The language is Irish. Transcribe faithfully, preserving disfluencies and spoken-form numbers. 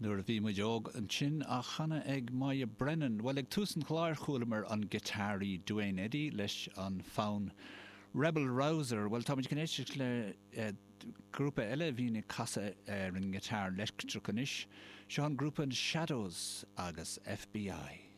Nuair a bhí muid óg ansin á chanadh ag Moya Brennan. Bhuel ag tús an chláir chualamar an giotáraí Duane Eddy leis an fonn Rebel Rouser. Bhuel táimid chun éisteacht le eh, grúpa eile a bhíonn ag casadh ar an ngiotár leictreach anois, seo an grúpa Shadows agus FBI.